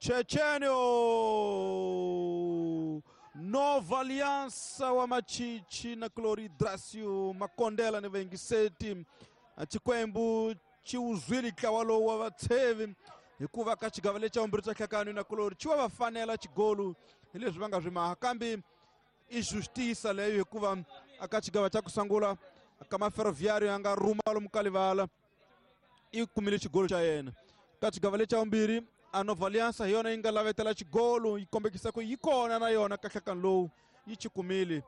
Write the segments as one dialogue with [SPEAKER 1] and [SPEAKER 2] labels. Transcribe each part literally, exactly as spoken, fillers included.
[SPEAKER 1] Chechenio Nova Aliança wa Machichi na Clori Dracio Makondela ni vaingiseti Chikwembu chiuzwili ntlawa wa vatshevi hikuva ka xigava lexi xa vumbirhi xa nhlakano na Clori xi wa va fanela xigolu hi leswi va nga swi maha kambe i justiça leyo hikuva aka xigava xa ku sungula ka Maferroviário ya nga rhuma lomu ka livala i kumile xigolo xa yena ka xigava lexi xa vumbirhi a Nova Aliança hi yona yi nga lavetela xigolo yi kombekisa ku yi kona na yona ka nhlakano lowu yi xi kumile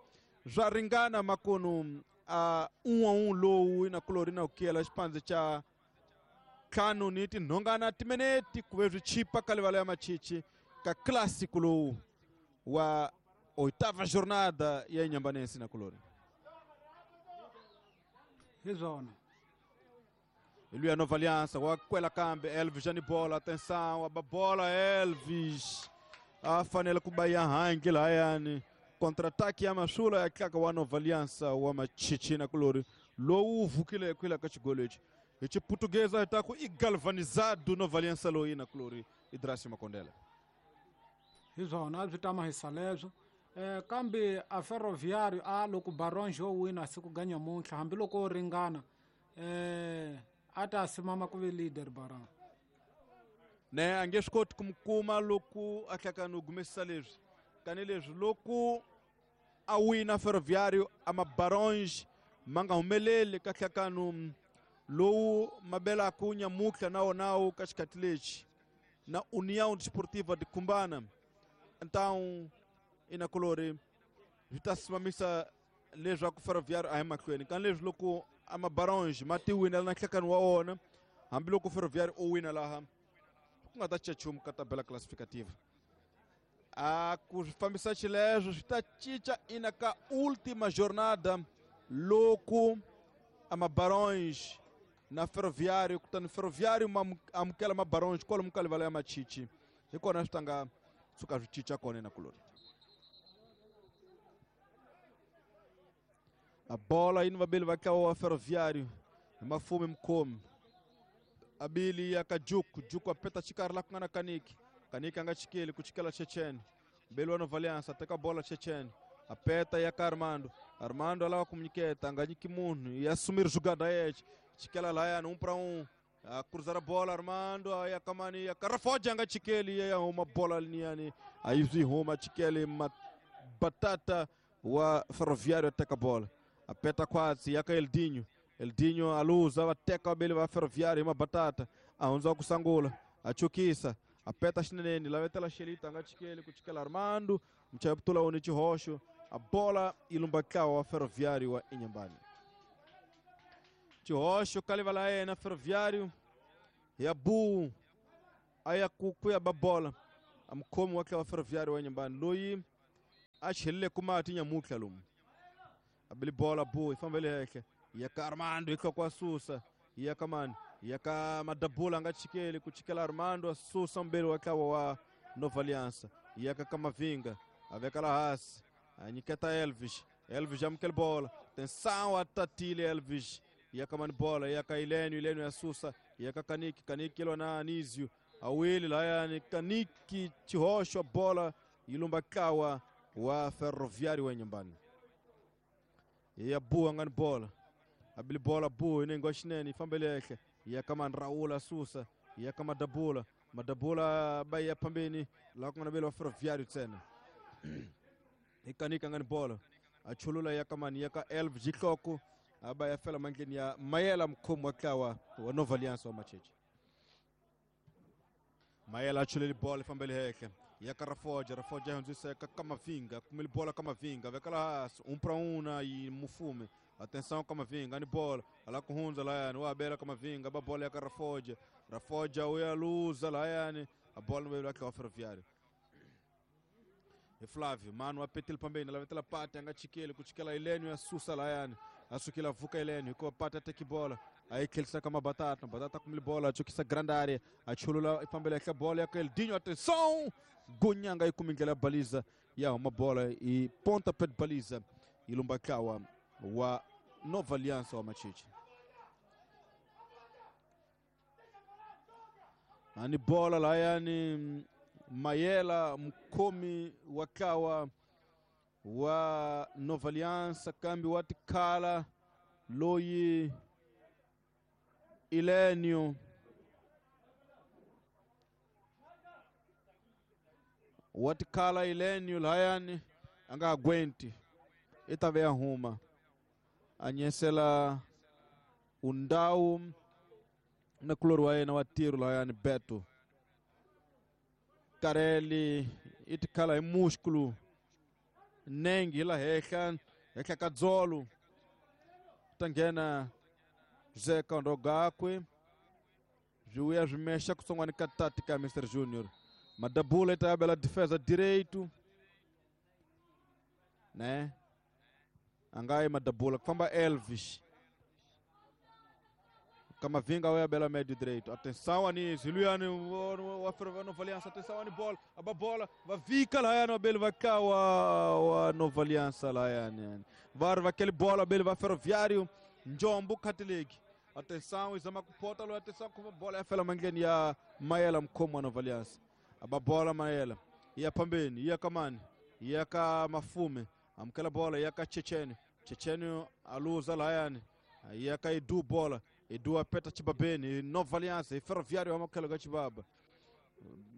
[SPEAKER 1] swa ringana makunu a un'we un'we lowu na Clori na ku kiyela xipandze xa ntlhanu ni tinhongana timinete ku ve swi chipa ka livala ya Machichi ka clássico lowu wa oitava jornada ya Inhambane na Clori
[SPEAKER 2] hi swona
[SPEAKER 1] Luia Nova Aliança, wa kwela kambe Elvis ani bola, atenção, a bola Elvis. A fanele ku ba ya hangi lahayani. Contra-ataque ya Masula ya tlaka wa Nova Aliança wa Machichi na Clori. Lowu vukile kwila ka xigolo lexi. Hi xiputukeza hi ta ku i galvanizado Nova Aliança loyi na Clori Idrasi Makondela.
[SPEAKER 2] Hi swona swi tama hi saleswo. Eh kambe a Ferroviário a loko Barões yo wina siku ga nyamuntlha hambiloko ringana eh ata simama ku ve leader Barão
[SPEAKER 1] ne a nge swi koti ku mi kuma loko a hlakana u gumesisa leswi tanihileswi loko a wina Ferroviário a maBarões ma nga humeleli ka nhlakano lowu ma belaka nyamuntlha na wonawu ka xikhathi lexi na União Desportiva de Cumbana então ina Clori swi ta simamisa leswaku Ferroviário a hi mahlweni ka leswi loko a maBarões ma ti winela na nhlakano wa wona hambiloko Ferroviário o wina laha ku nga ta cinca nchumu ka tabela classificativa a ku swi fambisa xileswo swi ta cinca ina ka última jornada loko a maBarões na Ferroviário kutani Ferroviário ma amukela maBarões kwalomu ka livala ya Machichi hi kona swi ta nga suka swi cinca kona na Clori a bola yini vabeli va ntlawa wa Ferroviário hi mafume mukhomi abili ya ka Juku Juku apeta xikarhi la ku nga na Kaniki Kaniki a nga chikeli ku chikela Chechen mbeli wa Nova Aliança teka bola Chechen apeta ya ka Armando Armando a lava ku nyiketa a nga nyiki munhu ya sumir jugada yexe chikela layani um para um a cruzar a bola Armando ya kamani ya ka Rafoja a nga chikeli ya huma bola liniyani a yi swi huma chikeli Batata wa Ferroviário teka bola apeta kwatsi ya ka Eldinho Eldinho aluza va teka vabeli va Ferroviário hi Mabatata a hundza ku sangula a chukisa apeta xineneni lavetela Xelita a nga chikeli ku chikela Armando muchayi putula woni xihoxo a bola yi lumba ntlawa wa Ferroviário wa Inhambane xihoxo ka livala ya yena Ferroviário ya bu a ya ku ku ya ba bola a mukhomi wa ntlawa wa Ferroviário wa Inhambane loyi a chelile ku mati nyamuntlha lomu abili bola bu yi fambele henhla ya ka Armando hi hloko a susa ya ka mani ya ka Madabula a nga chikeli ku chikela Armando a susa mbeli wa ntlawa wa Nova Aliança ya ka Kamavinga a veka la hansi a nyiketa Elvis Elvis amukela bola atenção a tatile Elvis ya ka mani bola ya ka Ilênio Ilênio ya susa ya ka Kaniki Kaniki ilwa na Anísio awili layani Kaniki xihoxo bola yi lumba ntlawa wa Ferroviário wa Inhambane ya bu nga ni bola abili bola bu inengo xinene yi fambele henhla ya ka mani Raul a susa ya ka Madabula Madabula ba ya phambeni laha ku nga na vele wa Ferroviário ntsena hi Kanika nga ni bola a chulula ya ka mani ya ka Elvis Xihloko a ba ya fela mandleni ya Mayela mukhomi wa ntlawa wa Nova Aliança wa Macheche Mayela a chuleli bola yi fambele henhla ya ka Rafoja Rafoja hundzisa ka Kamavinga kumile bola Kamavinga veka la hansi um para um na yi Mufume atenção Kamavinga ni bola ala ku hundza layani wa bela Kamavinga ba bola ya ka Rafoja Rafoja uya luza layani a bola no wa Ferroviário e Flávio mano apetile pambeni lavetela pate a nga chikeli ku chikela Ilênio ya susa layani a sukela vuka Ilênio hikuva pate a teki bola aí tlhelisa ka Mabatata Batata kumile bola a chukisa grande área a chulula yi fambela henhla bola ya ka Eldinho atenção Gunyanga yi kumi ndlela ya baliza ya huma bola yi ponta pet baliza yi lumba ntlawa wa Nova Aliança wa Machichi ani bola layani Mayela mukhomi wa ntlawa wa Nova Aliança kambe wa tikhala loyi Elenio wa tikhala Elenio lahayani a nga aguenti i ta ve ya huma a nyesela undhawu na kulori wa yena wa tiro lahayani Beto Kareli i tikhala hi músculo nenge hi la henhla henhla ka dzolo ta nghena José Kandogakwe swi vuya swi mexa kutsongwana ka tati ka Mister Junior Madabula i ta ya bela defesa direito né a nga yi Madabula ku famba Elvis Camavinga wa ya bela médio direito. Atenção Anísio, Luyani wa wa Nova Aliança, atenção ani bola, a bola, va vika lá no bele va cá wa wa Nova Aliança lá yani. Var va aquele bola bele va Ferroviário, Njombo Catholic. Atenção izama kupota lo atenção com bola ya fela mandleni ya Mayela mkhomo wa Nova Aliança. Aba bola Mayela, iya pambeni, iya kamani, iya ka Mafume, amkela bola iya ka Chechene. Chechene aluza lá yani. Iya ka Edu bola. Edu apeta Chibabeni, Nova Aliança, e Ferroviário amakelo ga Chibaba.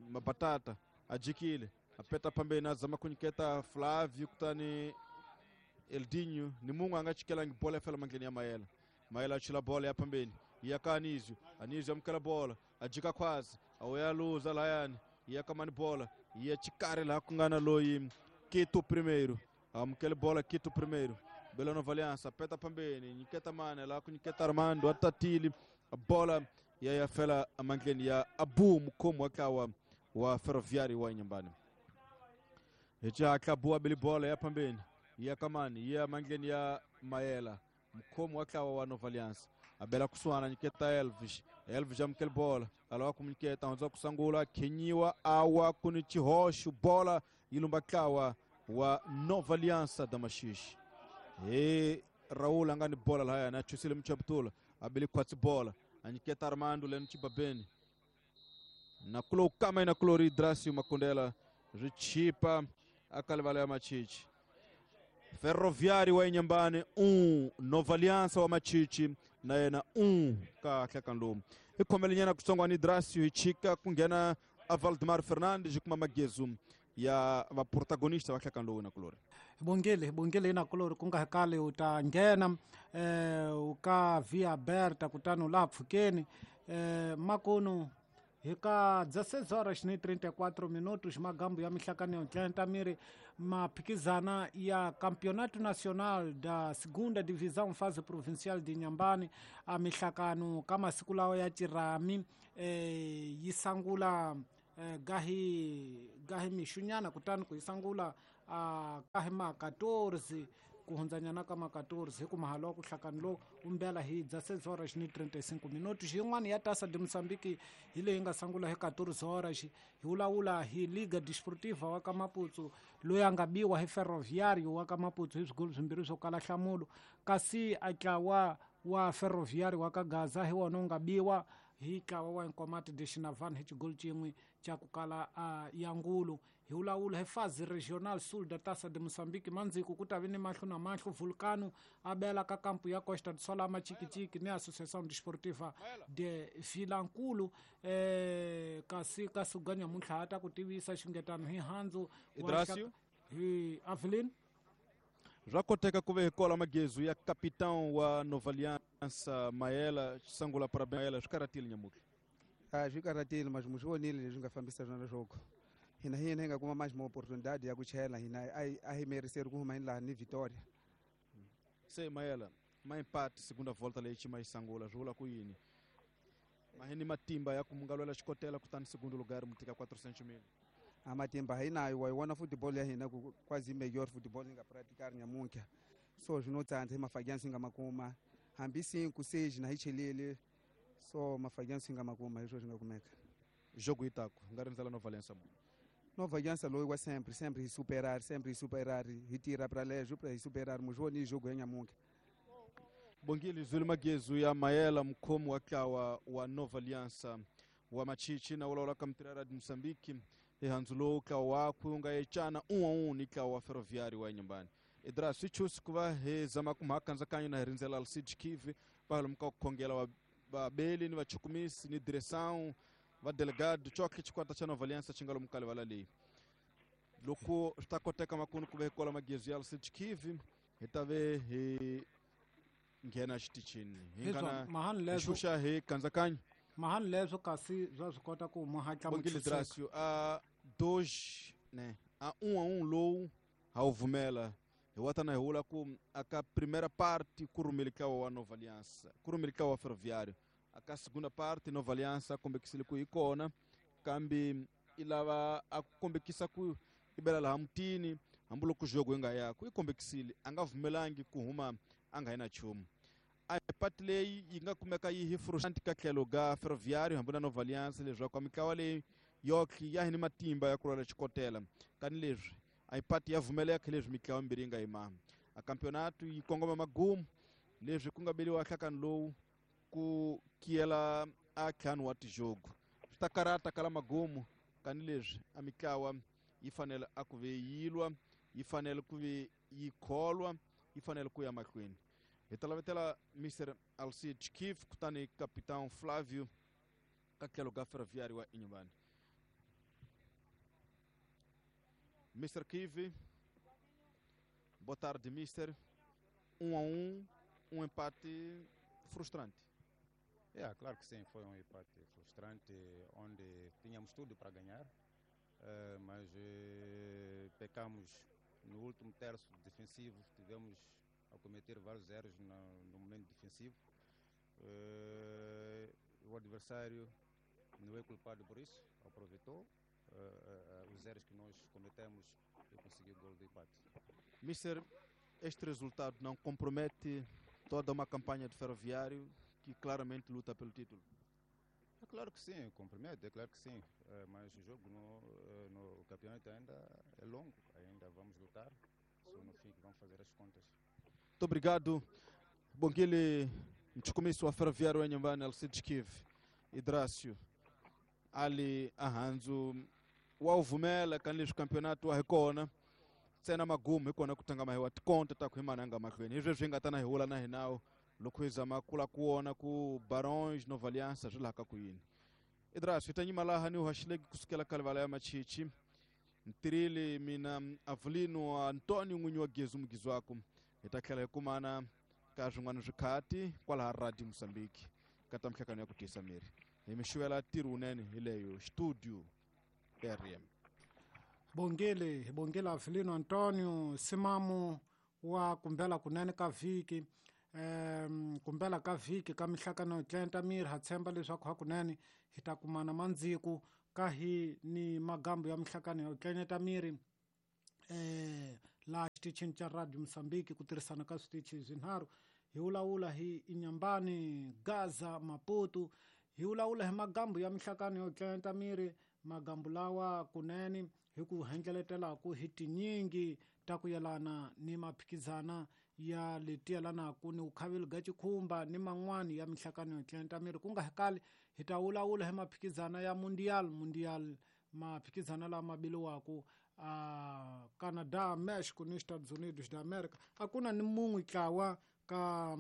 [SPEAKER 1] Mabatata, ajikile, apeta pambeni azama kunyiketa Flávio kutani Eldinho, ni mungu angachikela bola fela mandleni ya Mayela. Mayela achila bola ya pambeni, iya ka Anísio, Anísio amkela bola, ajika kwazi, awaya luza layani, iya kamani bola, iya chikare la kungana loyi Quito primeiro, amkela bola Quito primeiro. Bela Nova Aliança, peta pambeni, nyiketa mane, lá com nyiketa Armando, atatili, a bola, e aí a fela a mandleni ya Abu mukhomo wa wa Ferroviário wa Inhambane. Eja acabou a bola ya pambeni, ya kamani, ya mandleni ya Mayela, mukhomo wa wa Nova Aliança. A bela kusuana nyiketa Elvis, Elvis amkel bola, alawa kumnyiketa onza kusangula, kinyiwa awa kunichihoshu bola, ilumba kawa wa Nova Aliança da Machixe. E Raul angani bola lahaya na chusile mchaptula abili kwatsi bola anyiketa Armando leno Chibabeni na kulo kama ina kulori Dracio Makondela richipa akalivala ya Machichi. Ferroviário wa Inhambane um, Nova Aliança wa Machichi na yena um ka hlakanlomu ikhomelenyana kusongwa ni Dracio ichika kungena a Valdemar Fernandes kuma magezu ya va protagonista va hlakanlomu na kulori.
[SPEAKER 2] Bongele bongele ina kulori kunga kale uta nghena eh uka via Berta kutano la pfukeni eh makono hika dezesseis horas e trinta e quatro minutos magambo ya mihlakano ya Atlanta miri maphikizana ya Campeonato Nacional da Segunda Divisão fase provincial de Inhambane a mihlakano kama siku lawo ya Chirami eh yisangula eh, gahi gahi mishunyana kutani kuyisangula a kahi ma quatorze kuhundzanyana ka ma quatorze hi ku mahalo wa ku hlakani lowu umbela hi dezesseis horas e trinta e cinco minutos. Yin'wana ya Taça de Moçambique hi leyi nga sangula hi quatorze horas hi vulavula hi Liga Desportiva wa ka Maputo loyi a nga biwa hi Ferroviário wa ka Maputo hi swigolo swimbirhi swo kala nhlamulo kasi a ntlawa wa Ferroviário wa ka Gaza hi wona wu nga biwa hi ntlawa wa Nkomati de Xinavane hi xigolo xin'we xa ku kala uh, ya ngulu. Hi vulavula hi fase regional sul da Taça de Moçambique mandziko ku ta vi ni mahlo na mahlo Vulcano a bela ka kampo ya Costa do Sol a Machikichiki ni Associação Desportiva de Vilankulu eh, kasi ka suganya muntlha ta ku tivisa xingetano hi handzu
[SPEAKER 1] Idracio
[SPEAKER 2] hi Avelin
[SPEAKER 1] swa koteka ku ve hi kola magezu ya capitão wa Nova Aliança Mayela sangula parabéns Mayela swi karatile nyamutlha
[SPEAKER 3] a swi karatile mas mu swi vonile leswi nga fambisa swona leswaku hina hina hi nga kuma mais uma oportunidade ya ku chela hina a hi meriseri ku huma hi laha ni Vitória.
[SPEAKER 1] Se Mayela ma empate segunda volta leyi xi ma yi sangula swi vula ku yini ma hi ni matimba ya ku mu nga lwela xikotela kutani segundo lugar mu tika quatrocentos mil
[SPEAKER 3] a matimba hi nayo wa yi vona football ya hina ku quase melhor football hi nga praticar nyamuntlha so swi no tsandza hi mafagiani swi nga ma kuma hambi cinco seis na hi chelile so mafagiani swi nga ma kuma hi swo swi nga kumeka
[SPEAKER 1] jogo yi taku nga rindzela Nova Aliança mu
[SPEAKER 3] Nova Aliança loyi wa sempre sempre hi superar sempre hi superar hi tirha pra leswo pra hi superar mu swi voni jogo ya nyamuntlha.
[SPEAKER 1] Bongile Zulu magezu ya Mayela mkhomi wa ntlawa wa Nova Aliança wa Machichi na vulavula ka Mutirhela de Moçambique Hi handzu lowu ntlawa wakwe wu nga yecana um a um ni ntlawa wa Ferroviário wa Inhambane. Idras swi chusi ku va hi zama ku mhaka kandzakayo na hi rindzela Alcide Kivi va lomu ka ku khongela va vabeli ni vachukumisi ni direção va delegado txokhe xikwata xa Nova Aliança xi nga lomu ka livala leyi. Loko swi ta koteka makunu ku ve hi kola magezi ya Alcide Kivi hi ta ve hi nghena xitichini hi nga na
[SPEAKER 2] mahani leswo
[SPEAKER 1] xuxa hi kandzakanyo
[SPEAKER 2] mahani leswo kasi bya swi kota ku mu hatla
[SPEAKER 1] Bongile Drasio a dois né a um a um lowu ha wu vumela hi wa tana hi vula ku aka primeira parte ku rhumele ntlawa wa Nova Aliança ku rhumele ntlawa wa Ferroviário aka segunda parte Nova Aliança kombekisile ku yi kona kambe i lava a kombekisa ku i bela laha mutini hambiloko jogo yi nga yaku i kombekisile a nga vumelangi ku huma a nga yi na nchumu. A pati leyi yi nga kumeka yi hi frustrante ka tlhelo ga Ferroviário hambi na Nova Aliança leswaku a mitlawa leyi yotlhe ya hi ni matimba ya ku lwela xikotela kani leswi a yi pati ya vumeleka leswi mitlawa mimbirhi yi nga yima a campeonato yi kongoma magumu leswi ku nga beliwa nhlakani lowu ku kiyela a ntlhanu wa tijogo swi ta karata kala magumu kani leswi a mitlawa yi fanele a ku ve yi lwa yi fanele ku ve yi kholwa yi fanele ku ya mahlweni. Hi ta lavetela Mister Alcide Kif kutani Capitão Flávio ka tlhelo ka Ferroviário wa Inhambane. Mister Kivi, boa tarde, mister. Um a um, um empate frustrante.
[SPEAKER 4] É, claro que sim, foi um empate frustrante, onde tínhamos tudo para ganhar, uh, mas uh, pecamos no último terço defensivo, tivemos a cometer vários erros no, no momento defensivo. Uh, o adversário não é culpado por isso, aproveitou uh, uh, os erros que nós cometemos e conseguiu o gol do empate.
[SPEAKER 1] Mister, este resultado não compromete toda uma campanha de Ferroviário que claramente luta pelo título?
[SPEAKER 4] É claro que sim, compromete, é claro que sim, uh, mas o jogo no, no campeonato ainda é longo, ainda vamos lutar, só no fim que vamos fazer as contas.
[SPEAKER 1] Muito obrigado, Bongile Mchukumiso wa Ferroviário Inhambane, Alcide Kiv, Idrácio, Ali Ahanzu, wa uvumela kanileswi campeonato wa hi kona ntsena magumu hi kona ku tlanga mahi wa tikonta ta ku hi mananga mahlweni hi sweswi hi nga ta na hi wula na hinawo loko hi zama kula ku wona ku Barões Nova Aliança swi laha ka ku yini. Idrácio, hi ta nyima laha ni haxileki kusukela ka livala ya Machichi ntirhile mina Avelino Antônio n'winyi wa Gezu Mugizwako hi ta tlhela hi kumana ka swin'wana swikhati kwalaha Radio Mozambique ka ta mihlangano ya ku tiyisa miri hi mi xuvela ntirho wunene hi leyo studio R M.
[SPEAKER 2] Bongile hi bongile Avelino Antônio Simamu wa kumbela kunene ka vhiki um kumbela ka vhiki ka mihlangano yo tlenta miri ha tshemba leswaku hakunene hi ta kumana mandziku ka hi ni magambo ya mihlangano yo tlenyeta miri eh laha xitichini xa Radio Mozambique ku tirhisana ka switichi swinharhu hi vulavula hi Inhambane, Gaza, Maputo hi vulavula hi magambo ya mihlangano yo tlenta miri magambo lawa kunene hi ku hendleletelaku hi tinyingi ta ku yelana ni maphikizana ya leti yelanaku ni vukhaveli bya xikhumba ni man'wani ya mihlangano yo tlenta miri ku nga hi kali hi ta vulavula hi maphikizana ya mundial mundial maphikizana lama biliwaku a Canadá, México ni Estados Unidos da América a ku na ni mun'we ntlawa ka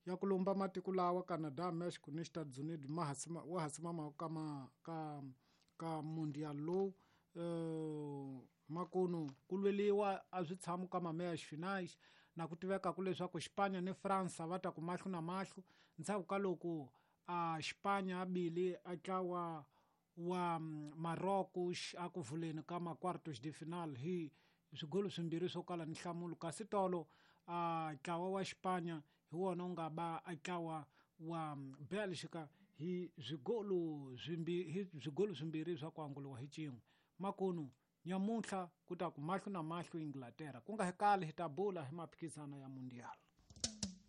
[SPEAKER 2] ya ku lumba matiko lawa Canadá, México ni Estados Unidos ma ha wa ha simama ka ma ka ka mundial lowu uh, makunu ku lweliwa a swi tshami ka mameya finais na ku tiveka ku leswaku Xipanya ni Fransa va ta ku mahlo na mahlo ndzhaku ka loko a Xipanya a bile a tlawa wa Marrocos a ku vuleni ka ma quartos de final hi swigolo swimbirhi swo kala ni nhlamulo kasi tolo a ntlawa wa Xipanya hi wona wu nga ba a ntlawa wa Belgica hi swigolo swimbirhi hi swigolo swimbirhi swa ku anguriwa hi xin'we makunu nyamuntlha ku ta ku mahlo na mahlo Inglaterra ku nga hi kali hi ta bula hi maphikizano ya mundial.